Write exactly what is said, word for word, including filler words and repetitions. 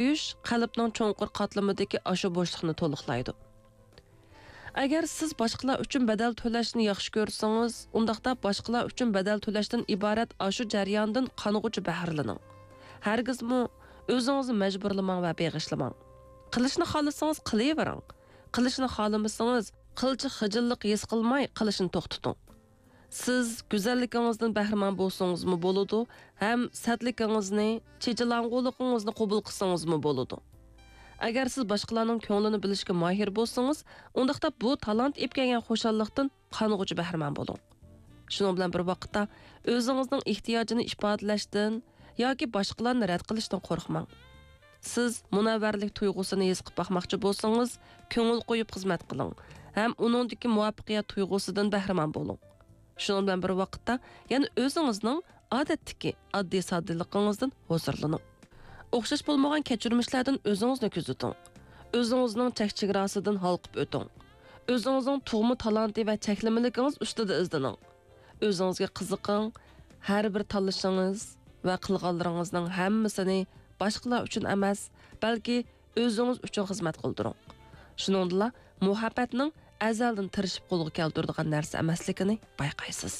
كۆيۈش قەلبنىڭ چوڭقۇر قاتلىمىدىكى ئاشۇ بوشلۇقنى تولۇقلايدۇ. ئەگەر سىز باشقىلار ئۈچۈن بەدەل تۆلەشنى ياخشى كۆرسىڭىز، ئۇنداقتا باشقىلار ئۈچۈن بەدەل تۆلەشتىن ئىبارەت ئاشۇ جەرياندىن قانغۇچە بەھرىلىنىڭ. ھەرگىزمۇ ئۆزىڭىزنى مەجبۇرلىماڭ ۋە بېغىشلىماڭ. قىلىشنى خالىسىڭىز قىلىۋېرىڭ. قىلىشنى خالىمىسىڭىز، قىلچە خىجىللىق ھېس قىلماي قىلىشنى توختىتىڭ. سىز گۈزەللىكىڭىزدىن بەھرىمەن بولسىڭىزمۇ بولىدۇ، ھەم سەتلىكىڭىزنى، چېچىلاڭغۇلۇقىڭىزنى قوبۇل قىلسىڭىزمۇ بولىدۇ. ئەگەر سىز باشقىلارنىڭ كۆڭلىنى بىلىشكە ماھىر بولسىڭىز، ئۇنداقتا بۇ تالانت ئېلىپ كەلگەن خۇشاللىقتىن قانغۇچە بەھرىمەن بولۇڭ. شۇنىڭ بىلەن بىر ۋاقىتتا، ئۆزىڭىزنىڭ ئېھتىياجىنى ئىپادىلەشتىن ياكى باشقىلارنى رەت قىلىشتىن قورقماڭ. سىز مۇنەۋۋەرلىك تۇيغۇسىنى ھېس قىلىپ باقماقچى بولسىڭىز، كۆڭۈل قويۇپ خىزمەت قىلىڭ ھەم ئۇنىڭدىكى مۇۋەپپەقىيەت تۇيغۇسىدىن بەھرىمەن بولۇڭ. شۇنىڭ بىلەن بىر ۋاقىتتا، يەنە ئۆزىڭىزنىڭ ئادەتتىكى ئاددىي-ساددىلىقىڭىزدىن ھۇزۇرلىنىڭ. ئوخشاش بولمىغان كەچۈرمىشلەردىن ئۆزىڭىزنى كۆزىتىڭ. ئۆزىڭىزنىڭ چەك-چېگراسىدىن ھالقىپ ئۆتۈڭ. ئۆزىڭىزنىڭ تۇغما تالانتى ۋە چەكلىمىلىكىڭىز ئۈستىدە ئىزدىنىڭ. ئۆزىڭىزگە قىزىقىڭ، ھەر بىر تاللىشىڭىز ۋە قىلغانلىرىڭىزنىڭ ھەممىسىنى باشقىلار ئۈچۈن ئەمەس، بەلكى ئۆزىڭىز ئۈچۈن خىزمەت قىلدۇرۇڭ. شۇنىڭدىلا مۇھەببەتنىڭ ئەزەلدىن تىرىشىپ قولغا كەلتۈرىدىغان نەرسە ئەمەسلىكىنى بايقايسىز.